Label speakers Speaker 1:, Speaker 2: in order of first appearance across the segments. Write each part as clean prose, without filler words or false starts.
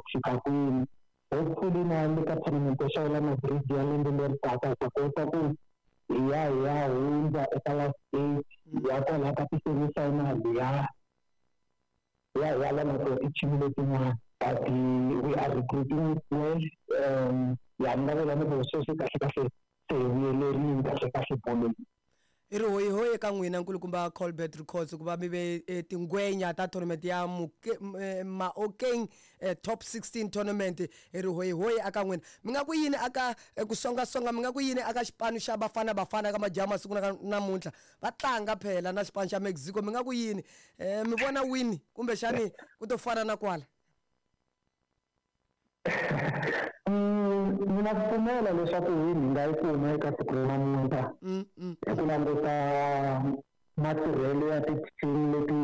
Speaker 1: ku fika kwini. Hopefully na le ka tournament ya Xawula Madrid ya lembe leri taka hi ta kota ku hi ya hi ya hundza eka last eight, hi ya kwalaya ka ti-semi-final, hi ya hi ya hi ya lwa na tona ti-team letin'wana. But we are recruiting well. Ya ni nga vula ni ku sweswi kahle kahle se hi vuyelerile kahle kahle bolweni.
Speaker 2: I ri hoyihoyi eka n'wina nkulukumba Colbert Records ku va mi ve eh, tingwenya ta tournament ya eh, Maokeng eh, Top 16 tournament. I ri hoyihoyi aka n'wina. Mi nga ku yini aka ku songasonga, mi nga ku yini aka xipano xa Bafana Bafana ka majaha masiku na namuntlha va tlanga phela na xipano xa Mexico, mi nga ku yini? Mi vona win kumbexani ku to fana na kwala?
Speaker 1: Ni na ku pfumela leswaku win hi nga yi kuma eka siku ra namuntlha hi ku languta matirhelo ya ti-team leti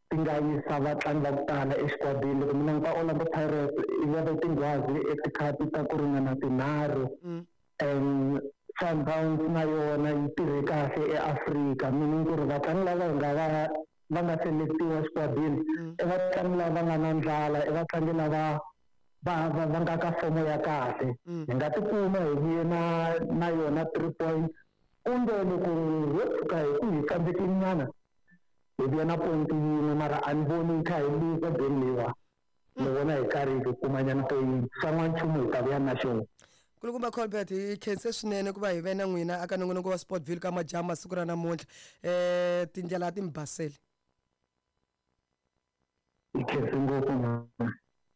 Speaker 1: ti nga yisa vatlangi va ku tala exikwatini. Loko mi languta Orlando Pirates yi veke tinghwazi etikhapi ta ku ringana tinharhu, and Sundowns na yona yi tirhe kahle eAfrika, meaning ku ri vatlangi lava hi nga va va nga selectiwa exikwatini i vatlangi lava va nga na ndlala, i vatlangi lava va va va nga ka fomo ya kahle. Hi nga tikuma hi vuye na na yona 3 points, kumbe loko ho tshuka hi ku hi tsandzekile nyana hi vuya na point yin'we, mara a ni voni hi kha hi luza game leyiwa. Ni vona hi karhi hi kuma nyana point, xa n'wanchumu hi ta vuya na xona.
Speaker 2: Nkulukumba Colbert, hi khense swinene ku va hi ve na n'wina aka nongonoko wa Sportville ka majaha siku ra namuntlha. Tindlela a ti mi baseli.
Speaker 1: Hi khense ngopfu ma.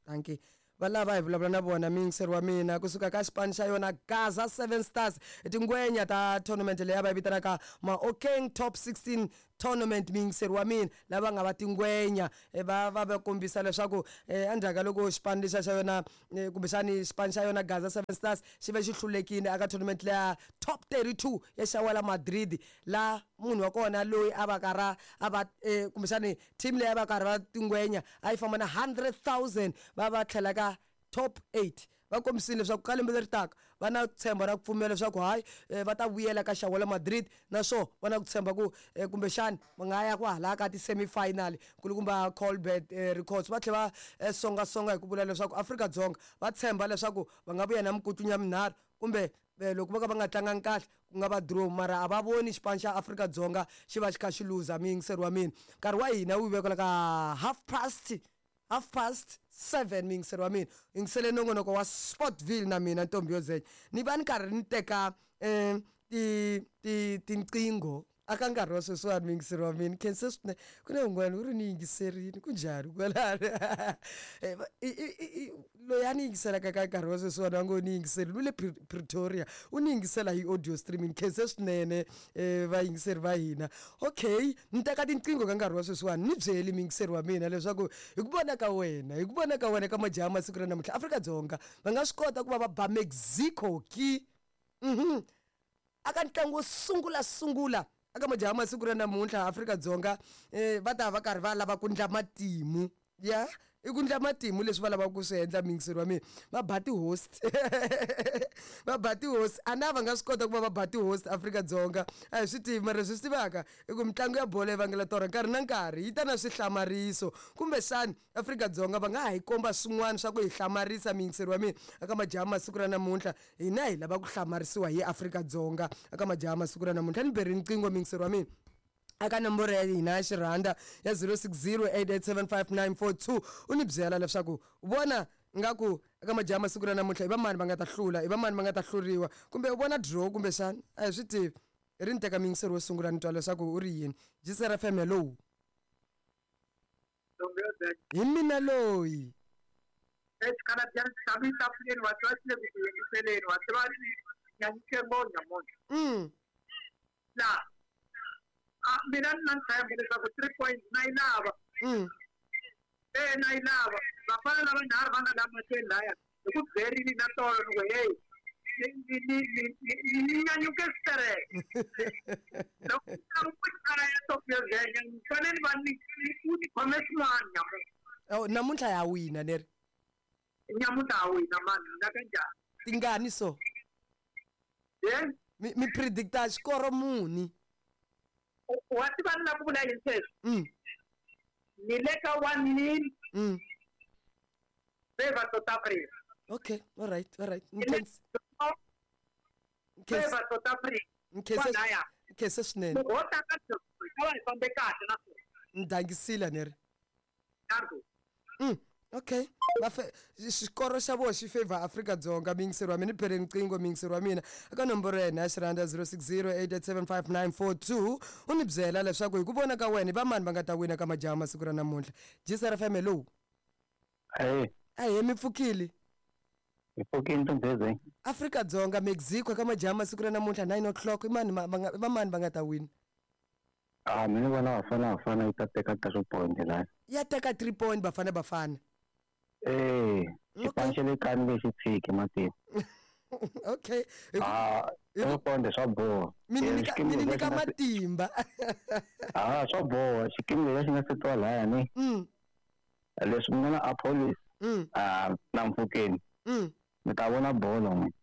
Speaker 2: Dankie. Va lava hi vulavula na vona muyingiseri wa mina kusuka ka xipano xa yona Gaza 7 Stars, tingwenya ta tournament leyi a va yi vitanaka Maokeng Top 16 tournament. Muyingiseri wa mina, lava nga va tingwenya va va va kombisa leswaku endzhaku ka loko xipano lexa xa yona, kumbexani xipano xa yona Gaza 7 Stars xi ve xi hlulekile aka tournament leya Top 32 ya Xawela Madrid, la munhu wa kona loyi a va karha a va, kumbexani team leyi a va karhi va tingwenya a yi famba na 100,000, va va tlhela ka top 8. Va kombisile leswaku ka lembe leri taka va na tshemba ra ku pfumela leswaku hayi, va ta vuyela ka Xawela Madrid, naswona va na ku tshemba ku, kumbexani va nga ya ku hala ka ti-semi-final. Nkulukumba Colbert Records va tlhela va songasonga hi ku vula leswaku Afrika-Dzonga va tshemba leswaku va nga vuya na mikutlunya minharhu, kumbe loko vo ka va nga tlangangi kahle ku nga va draw, mara a va voni xipano xa Afrika-Dzonga xi va xi kha xi luza. Muyingiseri wa mina, nkarhi wa hina wu vekela ka 7:30. Muyingiseri wa mina, yingisele nongonoko wa Sportville na mina Ntombi yo Zenya. Ni va ni karhi ni teka ti ti tinqingho aka nkarhi wa sweswiwani. Muyingiseri wa mina, khense swinene. Ku na un'wana u ri ni yingiserini, ku njhani kwalano? Loyi a ni yingiselaka ka nkarhi wa sweswiwani a ngo ni yingiserini u le Pretoria, u ni yingisela hi audio streaming. Khense swinene, vayingiseri va hina. Okay, ni teka tinqingho ka nkarhi wa sweswiwani. Ni byeli muyingiseri wa mina leswaku hi ku vona ka wena, hi ku vona ka wena ka majaha masiku ra namuntlha, Afrika-Dzonga va nga swi kota ku va va ba Mexico ki aka ntlangu wo sungula sungula aka majaha masiku ra namuntlha? Afrika-Dzonga, va ta va karhi va lava ku ndla matimu ya i ku ndla matimu leswi va lavaka ku swi endla. Muyingiseri wa mina, va ba ti-host, va ba ti-host, a na va nga swi kota ku va va ba ti-host Afrika-Dzonga? A hi swi tivi, mara leswi swi tivaka i ku mitlangu ya bolo yi vangela torha nkarhi na nkarhi, yi ta na swihlamariso. Kumbexani Afrika-Dzonga va nga ha yi komba swin'wana swa ku hi hlamarisa. Muyingiseri wa mina, aka majaha masiku ra namuntlha, hina hi lava ku hlamarisiwa hi Afrika-Dzonga aka majaha masiku ra namuntlha. Ni beri riqingho, muyingiseri wa mina, aka nomboro ya hina ya xirhanda ya 0608875942, u ni byela leswaku u vona ngaku eka majaha masiku ra namuntlha i va mani va nga ta hlula, i va mani va nga ta hluriwa, kumbe u vona draw kumbexani, a hi swi tivi. Hi ri ni teka muyingiseri wo sungula, ni twa leswaku u ri yini. GCR FM, hello. Hi mina loyi.
Speaker 3: La mina ni na ntshembo leswaku 3 points na yi lava. Na yi lava. Vafana lava nharhu va nga la mahlweni laya hi ku byerini na tolo ni ku hey, ni nyanyuke switereke loko ku ya Ntombi yo Zenya, ni fanele ni va ni u ni khome swin'wana nyamuntlha.
Speaker 2: Oh, namuntlha ya wina neri?
Speaker 3: Nyamuntlha ya wina mani, na kanjhani?
Speaker 2: Tingani so?
Speaker 3: Ye?
Speaker 2: Mi predicta xikoro muni?
Speaker 3: Wa tiva ni lava ku vula yini sweswi? Ni le ka 1-0. Favor South Africa.
Speaker 2: Okay, all right, all right.
Speaker 3: Favor South Africa.
Speaker 2: Nkhense, nkhense swinene.
Speaker 3: Loko ho tlanga hi va hi fambe kahle naswona.
Speaker 2: Ni dangisile ni ri. Okay, xikoro xa vona xi favor Afrika-Dzonga. Miyingiseri wa mina, ni bele riqingho miyingiseri wa mina eka nomboro ya hina ya xirhanda 060 8875942, u ni byela leswaku hi ku vona ka wena i vamani va nga ta wina ka majaha masiku ra namuntlha. GCR FM, hello.
Speaker 1: Hey.
Speaker 2: Ahee, mi pfukile?
Speaker 1: Hi pfukile, ntombheze.
Speaker 2: Afrika-Dzonga, Mexico ka majaha masiku ra namuntlha 9 o'clock, i mani i vamani va nga ta wina?
Speaker 1: Ah, mina vona Bafana Bafana yi ta teka 3 point la.
Speaker 2: Ya teka 3 point Bafana Bafana?
Speaker 1: Eh, xipano xa le kaya ni nge xi tshiki matini.
Speaker 2: Okay.
Speaker 1: Ah, 3 point swa boha.
Speaker 2: Mi ni nyika, mi ni nyika matimba.
Speaker 1: Ah, swa boha, xikimi lexi nga setiwa laya ni. Leswi mi nga na Appollis. Ah, na Mofokeng. Mi ta vona bolo n'we.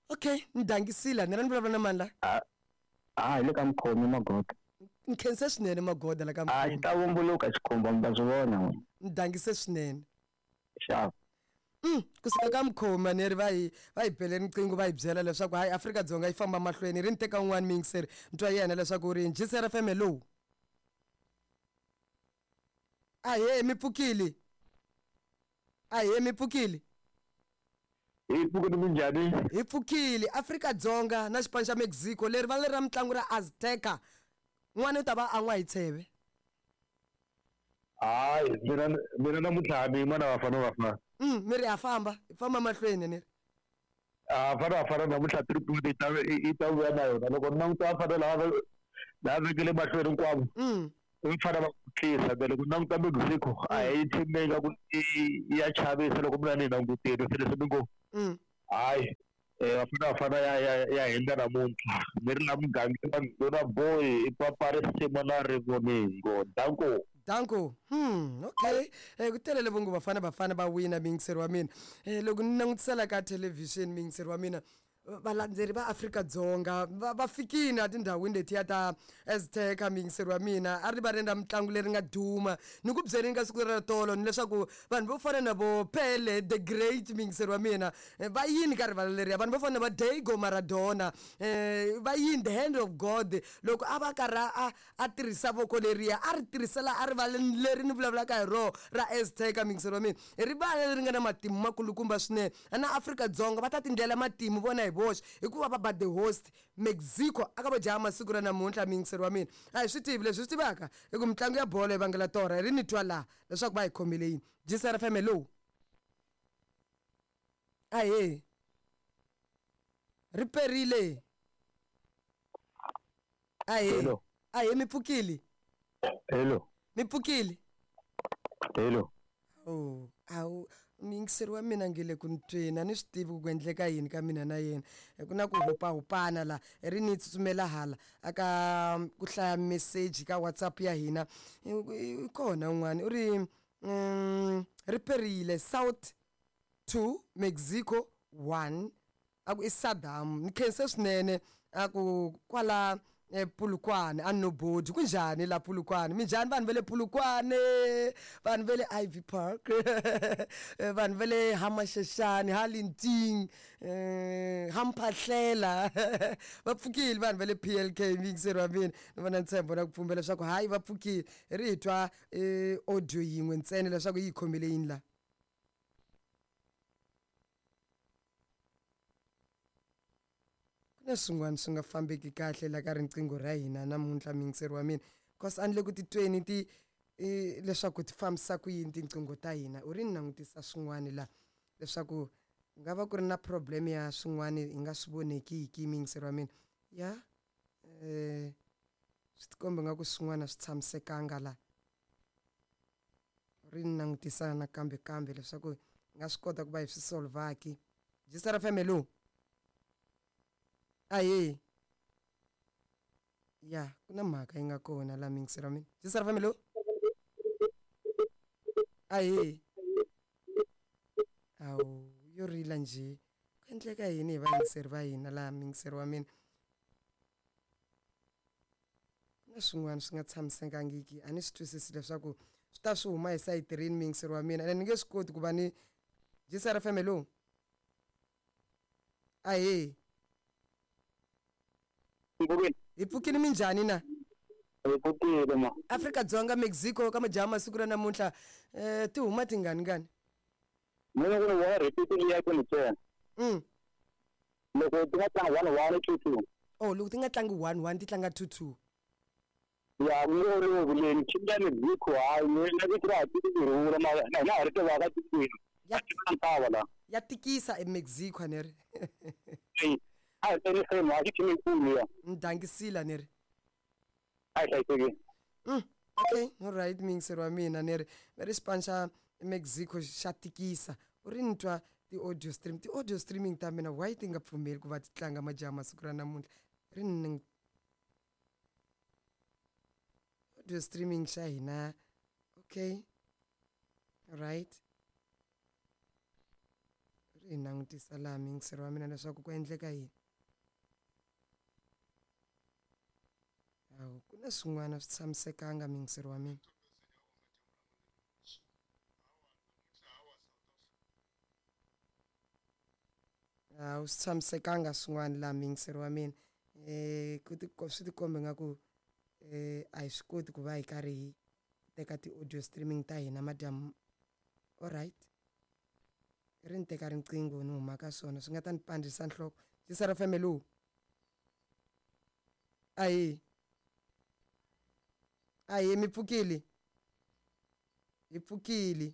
Speaker 2: Okay, ni dangisile ni ra ni vulavula na mani la?
Speaker 1: Ah, ah, hi le ka mukhomi Magoda.
Speaker 2: Nkhense swinene Magoda la ka.
Speaker 1: Ah, xi ta vumbuluka xikhumba, mi ta swi vona n'we.
Speaker 2: Ni dangise swinene.
Speaker 1: Xava.
Speaker 2: Kusuka ka Mkhoma ni ri va hi bele riqingho, va hi byela leswaku hayi, Afrika-Dzonga yi famba mahlweni. Ri ni teka un'wana miyingiseri, ni twa yena leswaku ri GCR FM, hello. Ahee, mi pfukile? Ahee, mi pfukile?
Speaker 4: Hi pfukile, minjhani?
Speaker 2: Hi pfukile. Afrika-Dzonga na xipano xa Mexico, leri va leri ra mitlangu ra Azteca, n'wana u ta va an'wa hi tsheve.
Speaker 4: Hayi, mina namuntlha ni yima na Bafana Bafana.
Speaker 2: Mi ri ha famba, hi famba mahlweni ni ri.
Speaker 4: A Bafana Bafana namuntlha 3 point yi ta vuya na yona. Loko ni languta Bafana lava vekele mahlweni hinkwavo, va fana va kutlisa. Then loko ni languta Mexico, a hi team leyi nga ku i ya chavisa loko mina ni yi langutile. Se leswi ni ngo hayi, Bafana Bafana ya hindza namuntlha. Ni ri la mugangeni na boy i papa risimu na rivoningo, danko.
Speaker 2: Danko. Okay, ku telele vongo Bafana Bafana va wina. Miyingiseri wa mina, loko ni langutisela ka thelevhixini, miyingiseri wa mina, valandzeri va Afrika-Dzonga va fikini etindhawini letiya ta Azteca. Miyingiseri wa mina, a ri va ri na mitlangu leri nga duma ni ku byeleni ka siku ra tolo ni leswaku vanhu vo fana na vo Pele the Great, miyingiseri wa mina, va yini ka rivala leriya, vanhu vo fana na va Diego Maradona, va yini, the hand of God, loko a va karhi a tirhisa voko leriya a ri tirhisela a rivaleni leri ni vulavulaka hi roho ra Azteca. Miyingiseri wa mina, i rivala leri nga na matimu makulukumba swinene, na Afrika-Dzonga va ta tindlela matimu vona hi voxe hikuva va ba the host Mexico aka vo jaha masiku ra namuntlha. Miyingiseri wa mina, a hi swi tivi leswi swi tivaka i ku mitlangu ya bolo yi vangela torha. Hi ri ni twa laha leswaku va hi khomile yini. GCR FM, hello. Ahee, ri perile. Ahee.
Speaker 4: Hello.
Speaker 2: Ahee, mi pfukile?
Speaker 4: Hello.
Speaker 2: Mi pfukile?
Speaker 4: Hello.
Speaker 2: Oh, awu, miyingiseri wa mina nge le ku ni tweni, a ni swi tivi ku endleka yini ka mina na yena. Ku na ku hupahupana la. Ri ni tsutsumela hala aka ku hlaya meseji ka WhatsApp ya hina. I kona un'wana u ri ri perile, South 2, Mexico 1, a ku i Saddam. Ni khense swinene, a ku kwala Polokwane a nobodi. Kunjhani la Polokwane? Minjhani vanhu va le Polokwane, vanhu va le Ivy Park, vanhu va le Hamasheshani, Halinting, Hamphahlela, va pfukile vanhu va le PLK? Miyingiseri wa mina, ni vona ntshembo na ku pfumela leswaku hayi, va pfukile. Ri hi twa audio yin'we ntsena leswaku yi hi khomile yini la. Ku na swin'wana swi nga fambeki kahle la ka riqingho ra hina namuntlha, miyingiseri wa mina, cause a ni le ku titweni ti leswaku ti fambisa ku yini tinqingho ta hina. U ri ni langutisa swin'wana la leswaku ku nga va ku ri na problem ya swin'wana hi nga swi vonekiki. Miyingiseri wa mina, ya swi tikomba nga ku swin'wana swi tshamisekanga la. Ri ni langutisa nakambe kambe leswaku hi nga swi kota ku va hi swi solvaki. GCR FM, hello. Ahee. Ya, ku na mhaka yi nga kona la, miyingiseri wa mina. GCR FM, hello. Ahee. Awu, yo rila njhe? Ku endleka yini hi vayingiseri va hina laha, miyingiseri wa mina? Ku na swin'wana swi nga tshamisekangiki, a ni swi twisisi leswaku swi ta swi huma hi sayiti rini, miyingiseri wa mina, ene ni nge swi koti ku va ni GCR FM, hello. Ahee. Hi pfukini, minjhani na?
Speaker 1: Hi pfukile ma.
Speaker 2: Afrika-Dzonga Mexico ka majaha masiku ra namuntlha, ti huma tingani ngani?
Speaker 1: Mina ku ni vona repeat liya ku ni tsena. Loko ti nga tlanga 1-1, 2-2.
Speaker 2: Oh, loko ti nga tlangi 1-1, ti tlanga 2-2.
Speaker 1: Ya, mi olovi leyi team ya Mexico, hayi mina vito ra ha tiki ku rhula mara na hina ha ri tivaka tikweni.
Speaker 2: Ya
Speaker 1: ntava la.
Speaker 2: Ya tikisa eMexico a ni ri.
Speaker 1: A hi teni same, a xi team yikulu ya.
Speaker 2: Ni dangisile a ni ri.
Speaker 1: A hi hlayisekile.
Speaker 2: Okay, all right, muyingiseri wa mina, ni ri va ri xipano xa Mexico xa tikisa. U ri ni twa ti-audio stream, ti-audio streaming ta mina why ti nga pfumeli ku va ti tlanga majaha masiku ra namuntlha? Ri ni audio streaming xa hina. Okay, right, ri hi langutisa laha muyingiseri wa mina leswaku ku endleka yini. Hawu, ku na swin'wana swi tshamisekanga, muyingiseri wa mina. Hawu, swi tshamisekanga swin'wana laha, muyingiseri wa mina. Ku ti swi tikomba nga ku a hi swi koti ku va hi karhi hi teka ti-audio streaming ta hina madyambu. Alright, ri ni teka riqingho ni huma ka swona swi nga ta ni pandzisa nhloko. GCR FM, hello. Ahee. Ahee, mi pfukile? Hi pfukile.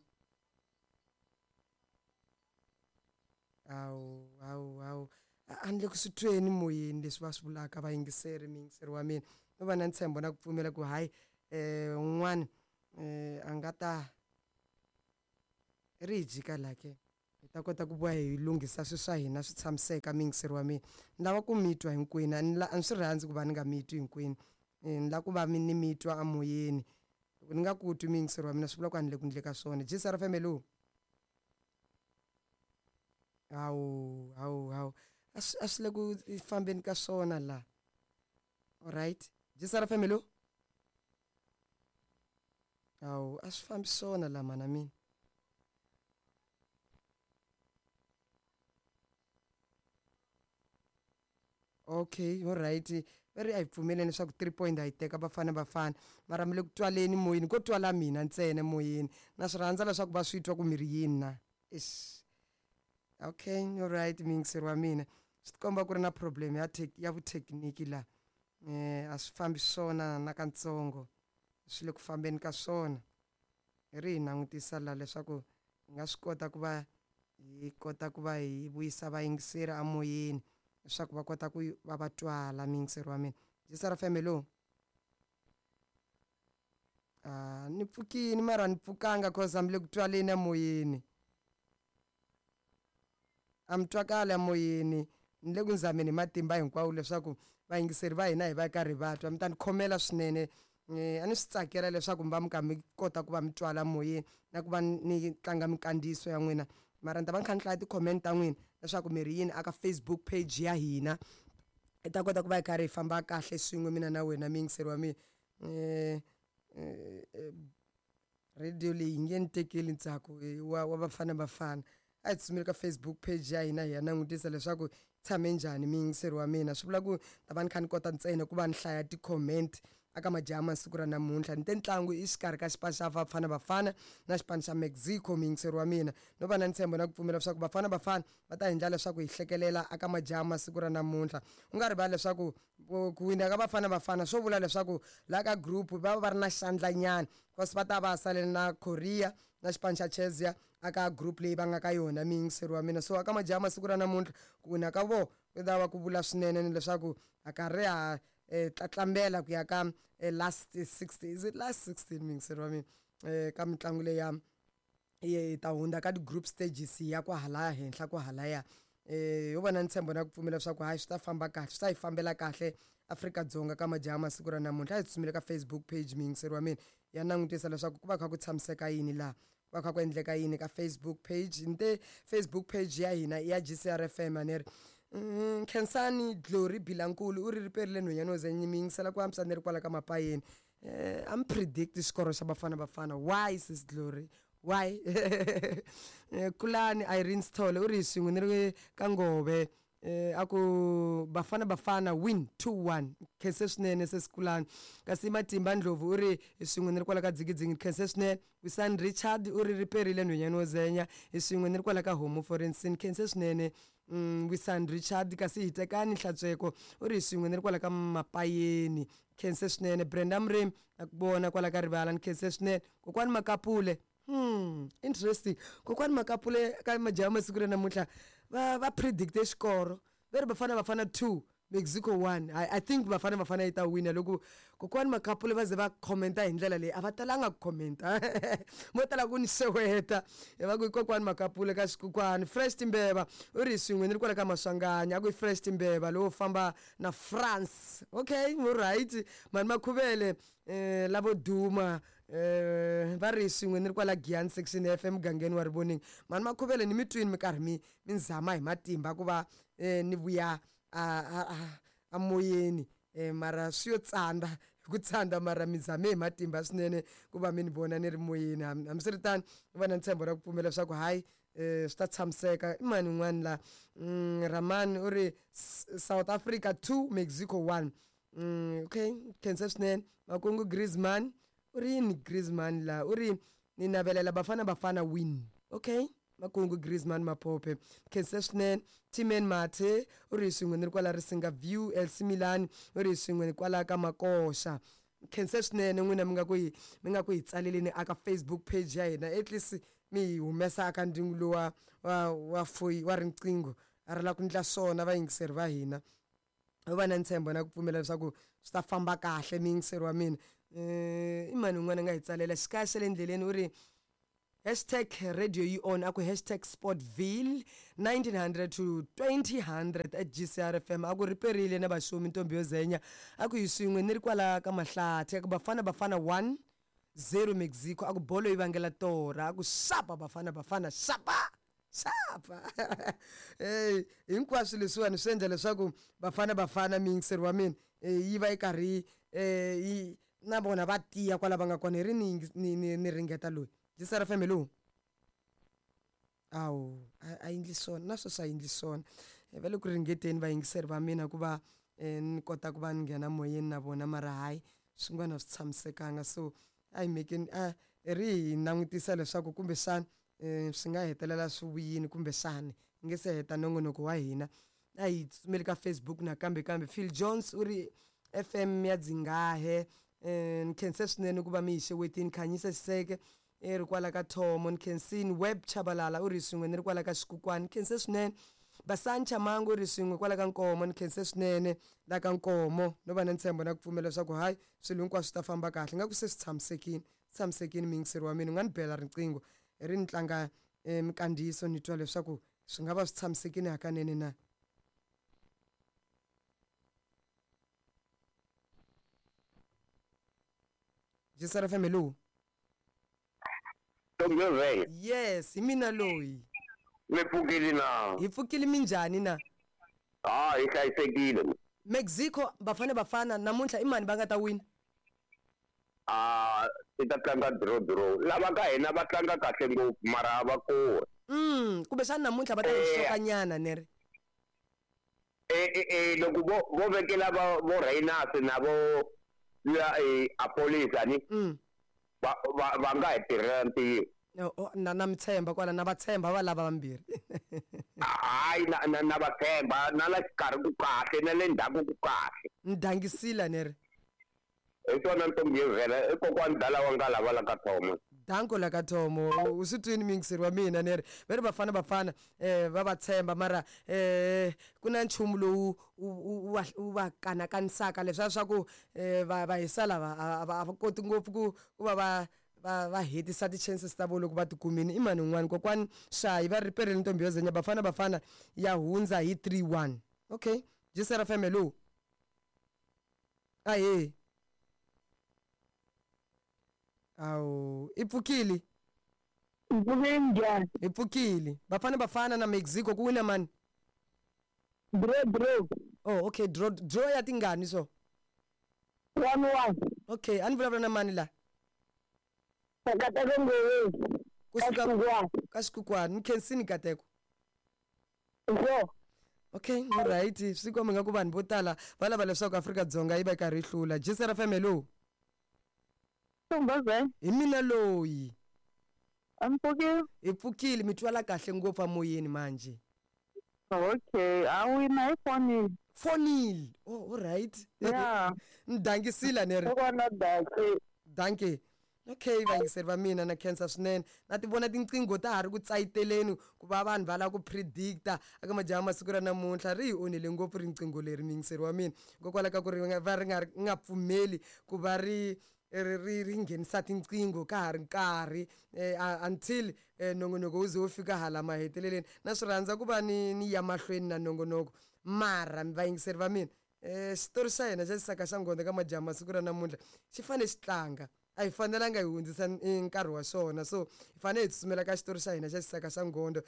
Speaker 2: Hawu, hawu, hawu, a ni le ku swi tweni moyeni leswi va swi vulaka vayingiseri, muyingiseri wa mina. No va na ntshembo na ku pfumela ku hayi, un'wana a nga ta ri hi jika la ke, hi ta kota ku vuya hi lunghisa swilo swa hina swi tshamiseka. Muyingiseri wa mina, ni lava ku mi twa hinkwenu, a ni a ni swi rhandzi ku va ni nga mi twi hinkwenu. Ni lava ku va mi ni mi twa amoyeni. Loko ni nga ku twi, muyingiseri wa mina, swi vula ku a ni le ku ndle ka swona. GCR FM, hello. Hawu, hawu, hawu, a swi le ku fambeni ka swona la. Alright, GCR FM, hello. Hawu, a swi fambi swona la, mana mina. Okay, alright, va ri a hi pfumeleni leswaku 3 point a yi teka Bafana Bafana, mara mi le ku twaleni moyeni, ko twala mina ntsena moyeni. Na swi rhandza leswaku va swi twa ku mi ri yini na. Eish, okay, alright, muyingiseri wa mina, swi tikomba ku ri na problem ya ya vuthekiniki la. A swi fambi swona nakantsongo, swi le ku fambeni ka swona. Hi ri hi langutisa la leswaku hi nga swi kota ku va hi kota ku va hi vuyisa vayingiseri amoyeni leswaku va kota ku va va twala. Muyingiseri wa mina, GCR FM, hello. A ni pfukini mara ni pfukanga cause a mi le ku twaleni amoyeni, a mi twakali amoyeni. Ni le ku nzameni hi matimba hinkwawo leswaku vayingiseri va hina hi va karhi va twa. Mi ta ni khomela swinene. A ni swi tsakela leswaku mi va mi kha mi kota ku va mi twala moyeni na ku va ni tlanga minkandziyiso ya n'wina, mara ni ta va ni kha ni hlaya ti-comment ta n'wina leswaku mi ri yini aka Facebook page ya hina. Hi ta kota ku va hi karhi hi famba kahle swin'we mina na wena, muyingiseri wa mina. Radio leyi nge ni tekeli ntsako wa Bafana Bafana. A hi tsutsumeli ka Facebook page ya hina hi ya langutisa leswaku tshame njhani, muyingiseri wa mina. Swi vula ku ta va ni kha ni kota ntsena ku va ni hlaya ti-comment aka majaha masiku ra namuntlha. Ni te ntlangu i xikarhi ka xipano xa Bafana Bafana na xipano xa Mexico, muyingiseri wa mina. No va na ntshembo na ku pfumela leswaku Bafana Bafana va ta endla leswaku hi hlekelela aka majaha masiku ra namuntlha. U nga rivali leswaku ku wina ka Bafana Bafana swo vula leswaku laha ka group va va ri na xandlanyana, kasi va ta va salele na Korea na xipano xa Chezia aka group leyi va nga ka yona, muyingiseri wa mina. So aka majaha masiku ra namuntlha, ku wina ka vo ku ta va ku vula swinene ni leswaku a karhi ha tlatlambela ku ya ka last 60, is it last 16, muyingiseri wa mina, ka mitlangu leyi ya yi ta hundza ka ti-group stages ya kwahalaya henhla kwahalaya. Ho va na ntshembo na ku pfumela leswaku hayi, swi ta famba kahle, swi ta yi fambela kahle Afrika-Dzonga ka majaha masiku ra namuntlha. A hi tsutsumile ka Facebook page, muyingiseri wa mina, ya langutisa leswaku ku va kha ku tshamiseka yini laha, ku va kha ku endleka yini ka Facebook page. Ni te Facebook page ya hina i ya GCR FM a ni ri. Khensani Glory Bilankulu u ri riperile nhwanyana wo ze mi yingisela ku antswa ni ri kwala ka mapayeni. A mi predict xikoro xa Bafana Bafana. Why, sis Glory? Why? Kulani Irene Sithole u ri hi swin'we ni ri ka Ngove, a ku Bafana Bafana win 2-1. Khense swinene sesi Kulani. Kasi Matimba Ndlovu u ri hi swin'we ni ri kwala ka Dzigidzingi, khense swinene. Wisani Richard u ri riperile nhwenyani wo zenya, hi swin'we ni ri kwala ka Homu Forensin, khense swinene. Wisani Richard. Kasi Hitekani Hlatsweko u ri hi swin'we ni ri kwala ka Mapayeni, khense swinene. Brenda Murimi na ku vona kwala ka rivala, ni khense swinene. Kokwani Makapule, interesting. Kokwani Makapule ka majaha masiku ra namuntlha va predicte xikoro, va ri Bafana Bafana 2 Mexico 1. I think Bafana Bafana yi ta wina. Loko kokwani Makapule va ze va commenta hi ndlela leyi, a va talanga ku commenta, vo tala ku ni xeweta, va ku kokwani Makapule ka xikukwani. Fresh Timbeva u ri swin'we ni ri kwala ka Maswanganya, a ku i Fresh Timbeva lowo famba na France. Okay, all right. Mani Makhuvele, lavo duma, va ri swin'we ni ri kwala Giyani section F emugangeni wa Rivoning. Mani Makhuvele, ni mi twini mi karhi mi zama hi matimba ku va ni vuya a moyeni, mara swi yo tsanda hi ku tsanda, mara mi zame hi matimba swinene ku va mi ni vona ni ri moyeni. Hambiswiritano, ni va na ntshembo ra ku pfumela leswaku hayi, swi ta tshamiseka. I mani un'wana la? Ramani u ri South Africa 2 Mexico 1. Okay, khensa swinene. Makungu Griezmann u ri yini? Griezmann la u ri ni navelela Bafana Bafana win. Okay, Makungu Griezmann Maphophe, khensa swinene. Timen Mathe u ri swin'we ni ri kwala Risinga View. Elsie Milani u ri swin'we ni kwala ka Makoxa, khensa swinene. N'wina mi nga ku hi tsaleleni aka Facebook page ya hina, at least mi hi humesa aka ndyangu lowa wa foyi wa riqingho a ri la ku ndla swona. Vayingiseri va hina, u va na ntshembo na ku pfumela leswaku swi ta famba kahle, muyingiseri wa mina. I mani un'wana a nga hi tsalela xikaya xa le ndleleni? U ri #RadioYiOn, a ku #Sportville 1900 to 2000 at GCRFM, a ku riperile na vaxumi ntombi yo zenya, a ku hi swin'we ni ri kwala ka Mahlathi, a ku Bafana Bafana 1 0 Mexico, a ku bolo yi vangela torha, a ku xapa Bafana Bafana, xapa xapa. Hey, hinkwaswo leswiwani swi endla leswaku Bafana Bafana, muyingiseri wa mina, yi va yi karhi yi na vona va tiya kwala va nga kona. Hi ri ni ringeta loyi GCR FM. Hello. Awu, a endli swona na sweswi, a endli swona. Va le ku ringeteni vayingiseri va mina ku va ni kota ku va ni nghena moyeni na vona, mara hayi, swin'wana swi tshamisekanga. So a hi mekeni, a ri hi langutisa leswaku kumbexana swi nga hetelela swi vuyini, kumbexani hi nge se heta nongonoko wa hina. A hi tsutsumeli ka Facebook nakambe. Kambe Phil Jones u ri FM ya Dzingahe, ni khense swinene ku va mi hi xewetini. Khanyisa Xiseke i ri kwala ka Thomo, ni khensini. Web Chabalala u ri swin'we ni ri kwala ka Xikukwani, ni khense swinene. Basani Chamango u ri swin'we kwala ka Nkomo, ni khense swinene la ka Nkomo. No va na ntshembo na ku pfumela leswaku hayi, swilo hinkwaswo swi ta famba kahle. Nga ku se swi tshamisekile, tshamisekile. Muyingiseri wa mina, u nga ni bela riqingho ri ni tlanga minkandziyiso, ni twa leswaku swi nga va swi tshamisekile hakanene na. GCR FM, hello.
Speaker 5: Ntombi.
Speaker 2: Yes, hi mina loyi.
Speaker 5: Mi pfukile na?
Speaker 2: Hi pfukile, minjhani na?
Speaker 5: Ha, hi hlayisekile.
Speaker 2: Mexico, Bafana Bafana namuntlha, i mani va nga ta wina?
Speaker 5: A ti ta tlanga draw draw. Lava ka hina va tlanga kahle ngopfu, mara a va kori.
Speaker 2: Kumbexana namuntlha va ta hi xokanyana, ne ri?
Speaker 5: Loko vo vekela va vo Rayners na vo ya Apolisa ni va nga hi tirhela ntirho.
Speaker 2: Na mi tshemba kwala, na va tshemba va lava vambirhi.
Speaker 5: Hayi, na va tshemba, na la xikarhi ku kahle, na le ndzhaku ku kahle.
Speaker 2: Ni dangisile, ne ri?
Speaker 5: Hi swona, ntombi yo vhela, i kokwani dala wa nga lava la ka Thomo.
Speaker 2: Danko la ka Thomo. U swi twini, muyingiseri wa mina, ne ri va ri Bafana Bafana, va va tshemba, mara ku na nchumu lowu wu va kanakanisaka leswiya swa ku va hisa lava a va koti ngopfu ku va hetisa ti-chances ta vo loko va ti kumini. I mani un'wana? Kokwani Shayi va ri perile ntombi yo zenya, Bafana Bafana ya hundza hi 3-1. Okay, GCR FM, hello. Ahee. Awu, i pfukile?
Speaker 1: Mpfukile, njhani?
Speaker 2: Hi pfukile. Bafana Bafana na Mexico, ku wina mani?
Speaker 1: Draw draw.
Speaker 2: Oh, okay, draw draw ya tingani so?
Speaker 1: 1-1.
Speaker 2: Okay, a ni vulavula na mani la?
Speaker 1: Takataka Ngoweni.
Speaker 2: Kusuka ka Xikhukhwana. Nkhensini Nkateko. Okay, alright. Swi komba nga ku vanhu vo tala va lava leswaku Afrika-Dzonga yi va yi karhi yi hlula. GCR FM, hello. Hi mina loyi. Hi pfukile, mi twala kahle ngopfu amoyeni manje.
Speaker 6: Okay, a wina hi fonile.
Speaker 2: Fonile. Oh, alright.
Speaker 6: Yeah.
Speaker 2: Ni dangisile ni ri.
Speaker 6: Kokwana danki.
Speaker 2: Danki. Okay, vayingiseri va mina na khensa swinene. Na ti vona tinqingho ta ha ri ku tsayiteleni ku va vanhu va lava ku predicta eka majaha masiku ra namuntlha. Ri hi onhele ngopfu riqingho leri muyingiseri wa mina, hikokwalaho ka ku ri va ri nga nga pfumeli ku va ri ri ri ri nghenisa tinqingho ka ha ri nkarhi until nongonoko wu ze wu fika hala maheteleleni. Na swi rhandza ku va ni ni ya mahlweni na nongonoko, mara vayingiseri va mina, xitori xa hina xa xisaka xa nghondo ka majaha masiku ra namuntlha xi fanele xi tlanga. A hi fanelanga hi hundzisa nkarhi wa xona, so hi fanele hi tsutsumela ka xitori xa hina xa xisaka xa nghondo.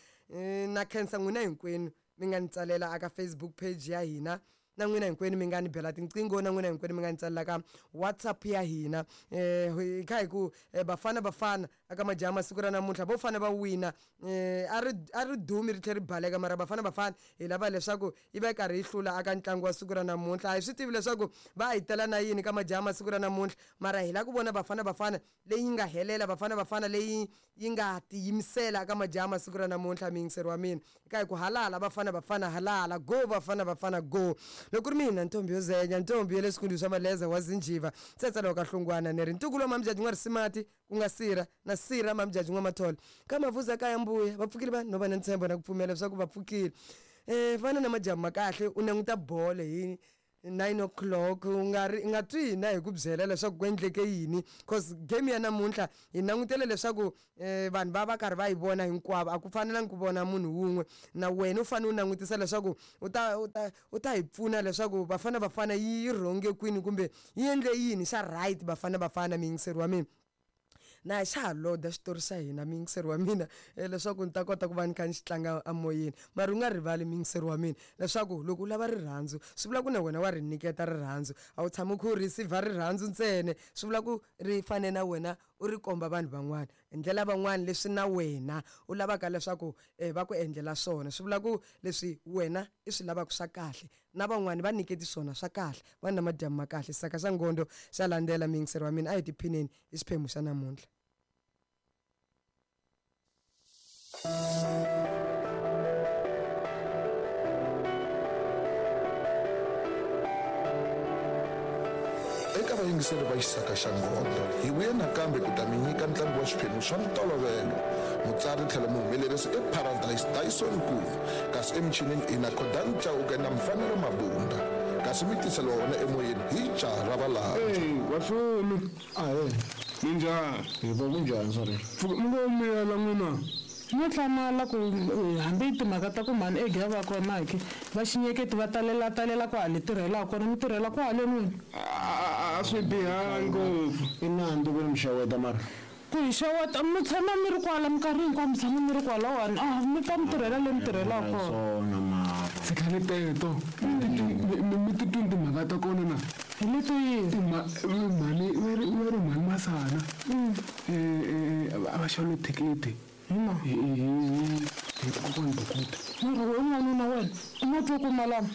Speaker 2: Na khensa n'wina hinkwenu mi nga ni tsalela aka Facebook page ya hina, na n'wina hinkwenu mi nga ni bela tinqingho, na n'wina hinkwenu mi nga ni tsalela ka WhatsApp ya hina. Hi kha hi ku Bafana Bafana aka majaha masiku ra namuntlha vo fane va wina. A ri a ri dumi ri tlhela ri baleka, mara Bafana Bafana hi lava leswaku yi va yi karhi yi hlula aka ntlangu wa siku ra namuntlha. A hi swi tivi leswaku va hi tela na yini ka majaha masiku ra namuntlha, mara hi lava ku vona Bafana Bafana leyi nga helela, Bafana Bafana leyi yi nga tiyimisela ka majaha masiku ra namuntlha. Muyingiseri wa mina, eka hi ku halala Bafana Bafana, halala, go Bafana Bafana, go. Loko ri mina ntombi yo zenya, ntombi ya le swikundu swa Maleza wa Zinjiva, tsetsela wa ka Hlongwana, ni ri ntukulu wa Mamjaji N'wa Risimati, ku nga Sira na Sira Mamjaji N'wa Mathole ka Mavuza kaya mbuya. Va pfukile vanhu no va na ntshembo na ku pfumela leswaku va pfukile. Vana na madyambu ma kahle. U languta bolo hi 9 o'clock, u nga ri u nga twi hina hi ku byela leswaku ku endleke yini, cause game ya namuntlha hi langutele leswaku vanhu va va karhi va yi vona hinkwavo. A ku fanelangi ku vona munhu wun'we, na wena u fanele u langutisa leswaku u ta u ta u ta hi pfuna leswaku Bafana Bafana yi rhonge kwini kumbe yi endle yini xa right. Bafana Bafana, muyingiseri wa mina, na xa ha loda xitori xa hina, muyingiseri wa mina, leswaku ni ta kota ku va ni kha ni xi tlanga amoyeni. Mara u nga rivali, muyingiseri wa mina, leswaku loko u lava rirhandzu swi vula ku na wena wa ri nyiketa rirhandzu. A wu tshami u kha u receive rirhandzu ntsena, swi vula ku ri fane na wena u ri komba vanhu van'wana, endlela van'wana leswi na wena u lavaka leswaku va ku endlela swona. Swi vula ku leswi wena i swi lavaka swa kahle, na van'wani va nyiketi swona swa kahle. Va na madyambu ma kahle. Saka xa ngondo xa landzela, muyingiseri wa mina. A hi tiphineni hi xiphemu xa namuntlha.
Speaker 7: Eka vayingiseri va Xisaka xa Nghondo, hi vuye nakambe ku ta mi nyika ntlangu wa swiphemu swa ntolovelo. Mutsari tlhelo muhumelerisi i Paradise Dyson Nkulu, kasi emichinini i na Khodan Chauke na Mfanelo Mabunda, kasi mi tiseliwa wona emoyeni hi jaha ra Valandza.
Speaker 8: Hey, vafumi.
Speaker 9: Ahee.
Speaker 8: Minjhani?
Speaker 9: Hi va kunjhani, sorry?
Speaker 8: Pfuka mi ngo miyela n'wina.
Speaker 10: No hlamala ku hambi timhaka ta ku mhani ege ya va kona ke va xinyeketi va talela talela kwale tirhelaka kona, mi tirhela kwale n'wina.
Speaker 8: A swi bihangi ngopfu.
Speaker 9: I nandzu ku ri mi xeweta mara.
Speaker 10: Ku hi xeweta, mi tshama mi ri kwala minkarhi hinkwayo, mi tshama mi ri kwalawani, a mi pfa mi tirhela le mi tirhelaka kona.
Speaker 9: Swona mara.
Speaker 8: Tshikani teto. Mi titwi timhaka ta kona na?
Speaker 10: Hi leto yini?
Speaker 8: Mhani va ri va ri mhani Masana. A va xavile thikithi.
Speaker 10: Hina.
Speaker 8: Hi hi hi kokwani Bukuta.
Speaker 10: Mara we n'wanuna wena, u ma twa ku malama?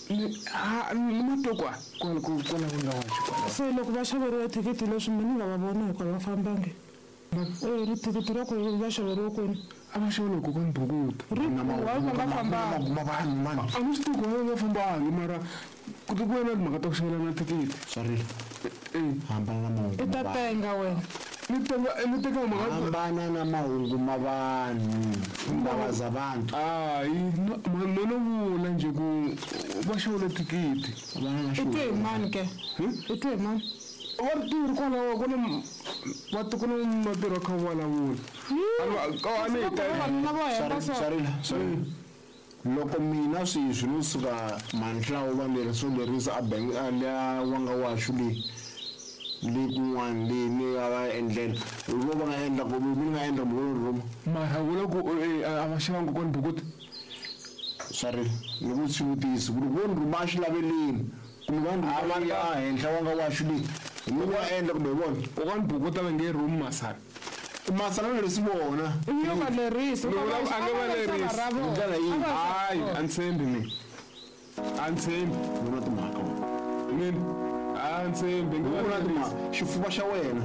Speaker 8: Ni ha ni ma twa kwa kwala kwala ku nga wachi kwala.
Speaker 10: Se loko va xaveriwe thikithi leswi mina ni nga va vona hikwalaho va fambangi. E ri thikithi ra ku va xaveriwe kwini?
Speaker 8: A va xavela kokwani Bukuta.
Speaker 10: Ri why va nga fambangi?
Speaker 9: Ma vanhu mani.
Speaker 8: A ni swi tivi ku va nga fambangi mara ku ti ku na timhaka ta ku xavelana thikithi.
Speaker 9: Sorry. Hambana na mahungu.
Speaker 10: I ta penga wena.
Speaker 8: Ni teka ni teka mhaka
Speaker 9: Hambana na mahungu ma vanhu. Indaba zabantu.
Speaker 8: Hayi, no no vula nje ku va xavele thikithi.
Speaker 10: I twe hi mani ke? I twe hi mani?
Speaker 8: Va ri tirhi kwalaho ku na va ku na vatirhi va kha va vulavula. A ni
Speaker 10: Vavanuna vo hemba so.
Speaker 9: Sorry, sorry. Loko mina sweswi no suka manhlawu va lerisa lerisa a bank a liya wanga waxu le le kun'wana le ni a va endlela vo va nga endla ku mi nga endla kumbe vo rhuma.
Speaker 8: Mara vula ku a va xavanga kokwani Bukuta.
Speaker 9: Sorry, ni ku xivutiso ku loko vo ni rhuma a xi laveleni kumbe va ni rhuma ya henhla wanga waxu le mi nga endla kumbe hi vona.
Speaker 8: Kokwani Bukuta va nge rhumi Masana.
Speaker 9: Masana lerisi vona.
Speaker 10: Yo va lerisi.
Speaker 8: Ni vula a nge va lerisi.
Speaker 9: Hi ndlela yihi?
Speaker 8: Hayi, a ni tshembi mina. A ni tshembi.
Speaker 9: U na timhaka.
Speaker 8: Mina a ni tshembi.
Speaker 9: U na timhaka. Xifuva xa wena.